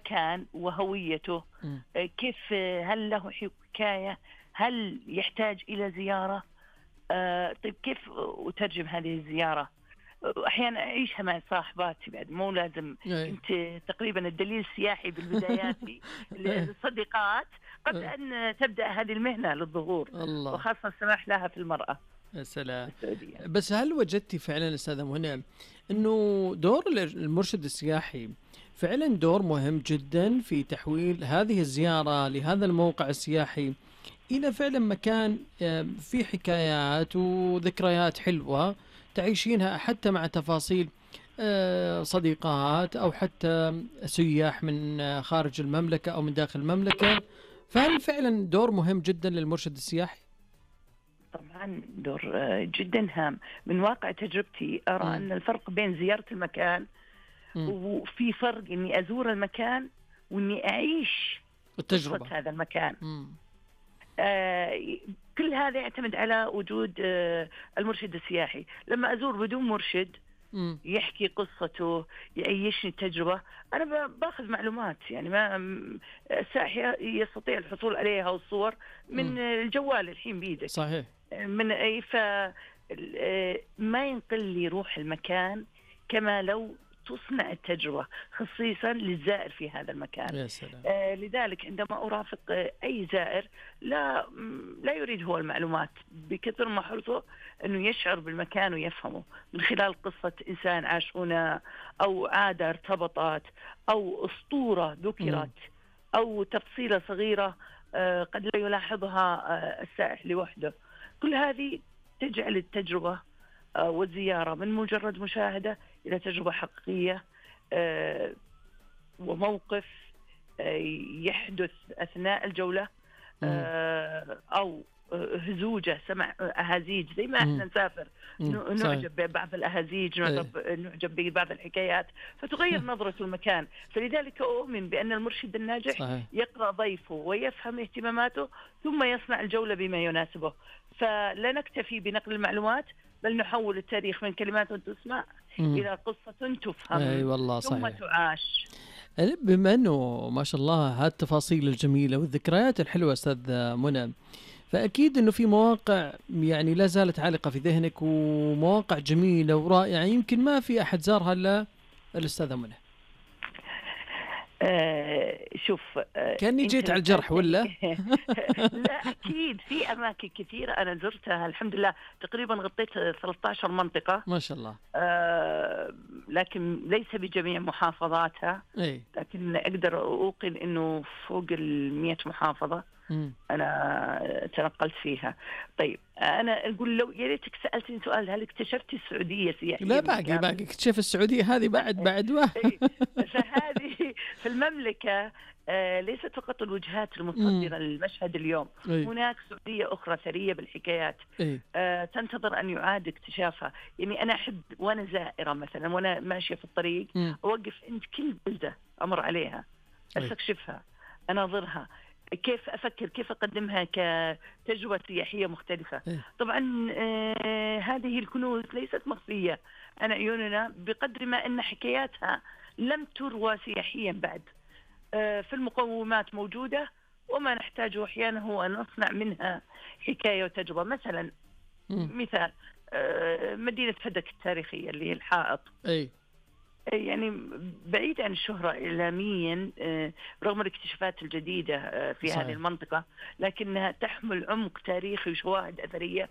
المكان وهويته، مم. كيف، هل له حكاية، هل يحتاج إلى زيارة، طيب كيف أترجم هذه الزيارة. أحيانا أعيشها مع صاحباتي بعد، مو لازم. إيه. كنت تقريبا الدليل السياحي بالبدايات إيه. للصديقات قبل إيه. أن تبدأ هذه المهنة للظهور، الله. وخاصة السماح لها في المرأة يا سلام. السعودية. بس هل وجدتي فعلا أستاذة منى أنه دور المرشد السياحي فعلا دور مهم جدا في تحويل هذه الزيارة لهذا الموقع السياحي إلى فعلا مكان فيه حكايات وذكريات حلوة تعيشينها حتى مع تفاصيل صديقات أو حتى سياح من خارج المملكة أو من داخل المملكة؟ فهل فعلا دور مهم جدا للمرشد السياحي؟ طبعا دور جدا هام. من واقع تجربتي أرى أن الفرق بين زيارة المكان، وفي فرق إني أزور المكان وإني أعيش التجربة هذا المكان. كل هذا يعتمد على وجود المرشد السياحي. لما أزور بدون مرشد يحكي قصته، يعيشني التجربة، أنا باخذ معلومات يعني ما السائح يستطيع الحصول عليها والصور من الجوال الحين بيدك. صحيح. من أي ما ينقل لي روح المكان كما لو تصنع التجربة خصيصا للزائر في هذا المكان. يا سلام. لذلك عندما أرافق أي زائر لا يريد هو المعلومات بكثر ما حرصه أنه يشعر بالمكان ويفهمه من خلال قصة إنسان عاش هنا، أو عادة ارتبطت، أو أسطورة ذكرت، أو تفصيلة صغيرة قد لا يلاحظها السائح لوحده. كل هذه تجعل التجربة والزيارة من مجرد مشاهدة إلى تجربة حقيقية وموقف يحدث أثناء الجولة، أو هزوجة، سمع أهازيج زي ما احنا نسافر نعجب ببعض الأهازيج، نعجب ببعض الحكايات، فتغير نظرة المكان. فلذلك أؤمن بأن المرشد الناجح يقرأ ضيفه ويفهم اهتماماته ثم يصنع الجولة بما يناسبه. فلا نكتفي بنقل المعلومات، بل نحول التاريخ من كلمات تسمع إلى قصة تفهم. أي والله ثم صحيح. تعاش. بما أنه ما شاء الله هالتفاصيل الجميلة والذكريات الحلوة أستاذ منى، فأكيد أنه في مواقع يعني لا زالت عالقة في ذهنك، ومواقع جميلة ورائعة يمكن ما في أحد زارها إلا الأستاذة منى. شوف، كأني جيت على الجرح ولا؟ لا أكيد في أماكن كثيرة أنا زرتها الحمد لله، تقريبا غطيت 13 منطقة ما شاء الله. لكن ليس بجميع محافظاتها. أي. لكن أقدر أوقن إنه فوق 100 محافظة أنا تنقلت فيها. طيب أنا أقول لو يا ريتك سألتني سؤال، هل اكتشفت السعودية سياحية؟ لا باقي اكتشف السعودية هذه بعد فهذه في المملكة ليست فقط الوجهات المتصدرة للمشهد اليوم. هناك سعودية أخرى ثرية بالحكايات تنتظر أن يعاد اكتشافها. يعني أنا أحب وأنا زائرة مثلا وأنا ماشية في الطريق أوقف عند كل بلدة أمر عليها، أستكشفها، أناظرها، كيف أفكر، كيف أقدمها كتجربة سياحية مختلفة. طبعا هذه الكنوز ليست مخفية عن عيوننا بقدر ما أن حكاياتها لم تروى سياحيا بعد. في المقومات موجودة، وما نحتاجه أحيانا هو أن نصنع منها حكاية وتجربة. مثلا مثال مدينة فدك التاريخية اللي هي الحائط. يعني بعيد عن الشهرة إعلاميا رغم الاكتشافات الجديدة في هذه المنطقة، لكنها تحمل عمق تاريخي وشواهد أثرية.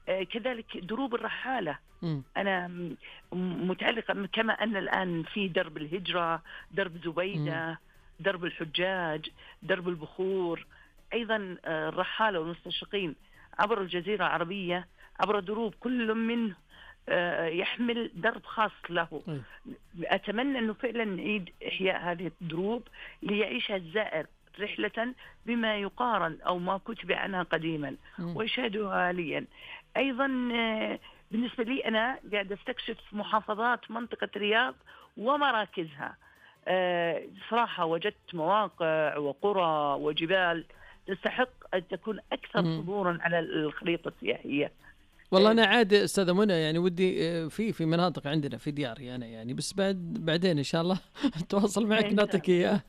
كذلك دروب الرحالة أنا متعلقة، كما أن الآن في درب الهجرة، درب زبيدة، درب الحجاج، درب البخور، أيضا الرحالة والمستشرقين عبر الجزيرة العربية عبر دروب كل منه يحمل درب خاص له. أتمنى أنه فعلا نعيد إحياء هذه الدروب ليعيشها الزائر رحلة بما يقارن أو ما كتب عنها قديما ويشاهدها حاليا. أيضا بالنسبة لي أنا قاعد أستكشف محافظات منطقة الرياض ومراكزها. صراحة وجدت مواقع وقرى وجبال تستحق أن تكون أكثر حضورا على الخريطة السياحية. والله أنا عاد أستاذة منى يعني ودي في مناطق عندنا في دياري أنا يعني، بس بعدين إن شاء الله أتواصل معك نعطيك إياه.